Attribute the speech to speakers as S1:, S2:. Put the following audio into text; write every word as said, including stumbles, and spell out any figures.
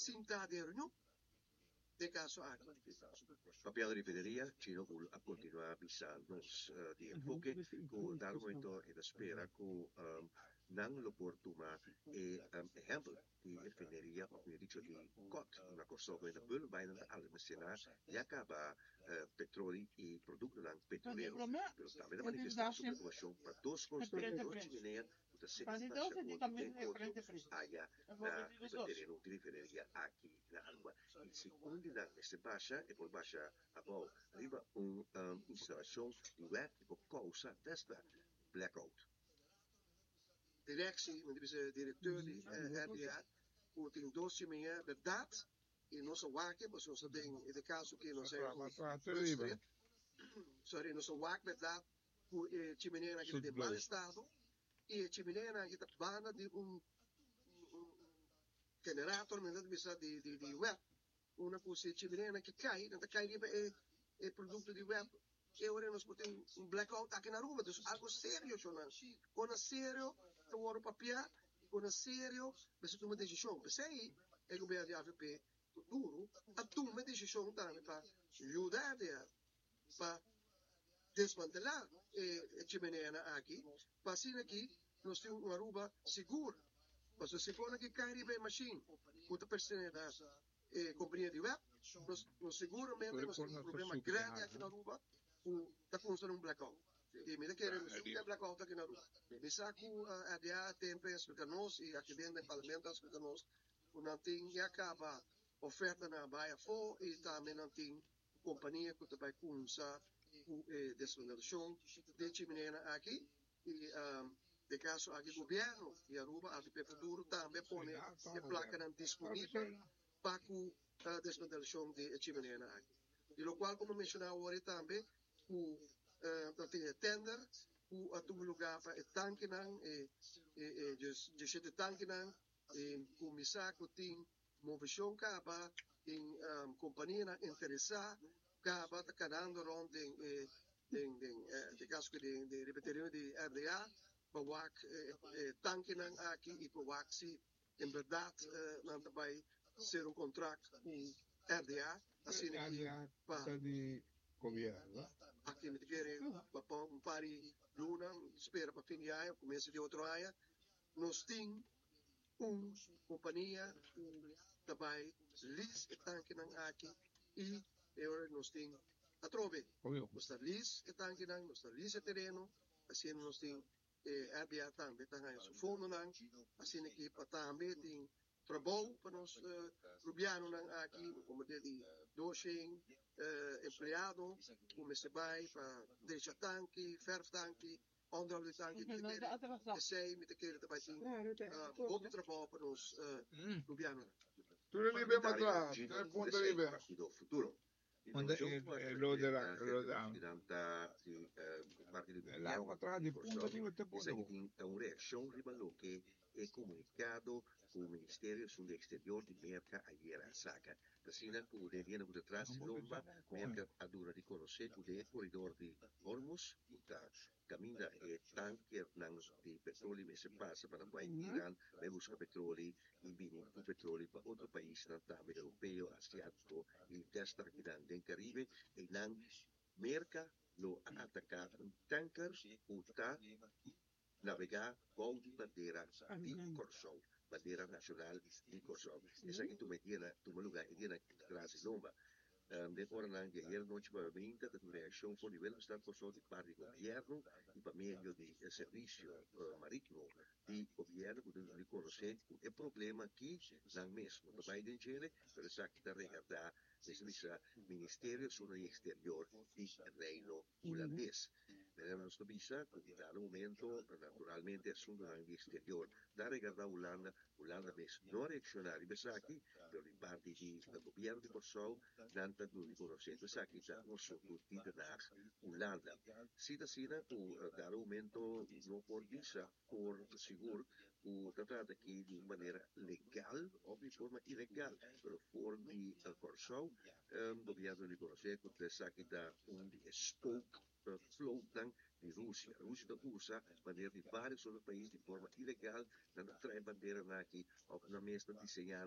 S1: Sinta den reunion den kaso aki.
S2: Papiando di refineria, Chino a kontinuá bisa nos uh, di Enfoke ku na momento e ta spera ku um, nan lo por tuma e um, ehèmpel di refineria, òf mihó dicho, di C O T na Kòrsou, ku ta bai na almasená ya kaba uh, petroleo i produktonan petrolero. Pero tambe a manifestá su preokupashon pa dos konstrukshon, dos chimenea ku ta sendo aya na tereno di refineria aki na Aruba. I segun nan mester basha, e por basha abou riba un um, instalashon di W E B ku kousa desta blackout.
S1: Directie, met de directeur di R D A, ku tin dos chimenea, berdat, i nos a wak, mas nos tin, den kaso ku nos
S3: Riba.
S1: Sorry, nos a wak berdat, ku e chimenea aki den mal estado, i e chimenea aki ta banda di un, un generator, men bisa di di di W E B. Una kos e chimenea ku kai, nan kai riba e e produkto di W E B. I awor nos tin un blackout aki na Aruba, anto algu serio, Jonas. Kon serio, ta wòrdu papiá, kon serio, mester tuma desishon. P'esei, e gobièrnu di A V P duru, a tuma desishon tambe pa yuda pa desmantelá e chimenea aki, pa asina aki nos tin un Aruba sigur. Mas si for ku kai riba e machine, ku ta pertenese na eh, kompania di W E B, nos, nos siguramente nos tin un problema grandi aki na Aruba, ku ta konstando un blackout. I mi ke nos tin blackout aki na Aruba. Mi sa ku R D A tempu a splika nos i aki den parlamento a splika nos, ku nan tin ya kaba oferta na bai afó i tambe nan tin kompania ku bai kuminsá ku eh, desmantelashon di chimenea aki i um, den kaso aki gobièrnu di Aruba, A V P Futuro tambe pone e plaka disponibel pa e desmantelashon di chimenea aki. Di lo kual, komo menshoná awor tambe, ku uh, tin tender, ku a tuma lugá pa e tankenan, e, e, e, diesshete tankenan, i kuminsá ku tin moveshon kaba, tin um, kompania interesá, kaba ta kanando rònt den, den, den, den kaso di, di repetir di R D A, pa wak eh, tankenan aki i pa wak si en berdat eh, nan bai sera un kontrakt ku R D A, asina aki pa
S3: di gobièrnu.
S1: Aki mi ke pa un par di luna, spera pa fin di aña, komienso di otro aña, nos tin un kompania ku bai lease e tankenan aki i awor nos tin atrobe. Nos ta lease e tankenan, nos ta lease e tereno, asina nos tin eh, R D A tambe ta su fondonan, asina ku pa tambe tin trabou pa nos uh, rubianonan aki, komo di doshent uh, empleado, ku bai pa drecha tanki, verf tanki, onderhoud di tanki, esei mi ta kere tambe tin uh, trabou pa nos uh, rubianonan.
S3: Tur liber pa atras, tres punto liber.
S2: Partido Futuro.
S3: Onda lo de la lo de
S2: Largo
S3: atrás di punto arriba te punto.
S2: Un reakshon riba loke e komunikado ku e Ministerio di Eksterior di Merka ayera a saka. Asina ku den dia ku tras lomba, Merka a duna di konosé ku e koridor di Hormuz, ta kaminda e tankernan di petroleo mester pasa pa bai Iran, bai buska petroleo i bini ku petroleo pa otro paisnan tambe europeo, asiátiko i desta aki den Karibe, i nan Merka lo ataká un tanker ku ta navegá bou di bandera di Kòrsou, bandera nashonal di Kòrsou. Esaki tuma dia, tuma lugá e dia tras lomba. Um, de ora di ayera nochi pa mainta, un reakshon for di Willemstad, Kòrsou, di parti di gobièrnu i pa medio di servisio uh, marítimo di gobièrnu, ku ta konosé e problema aki nan mes, no bai den dje, pero esaki ta regardá e Ministerio di Eksterior di Reino Hulandes. Nos bisa, na momento, naturalmente, asuntu di eksterior, ta regardá Hulanda, Hulanda mes no a reakshoná riba esaki, pero di parti di gobièrnu di Kòrsou, nan ta duna di konosé esaki ta un asuntu di Den Haag, Hulanda. Si asina, na momento no por bisa por sigur ku ta trata aki di un manera legal òf di forma ilegal, pero for di Kòrsou, um, gobièrnu di konosé ku esaki ta un spook vlootnan di Rusia. Rusia ta usa bandera di vários otro pais di forma ilegal, nan ta traha bandera aki, òf nan mes diseñá.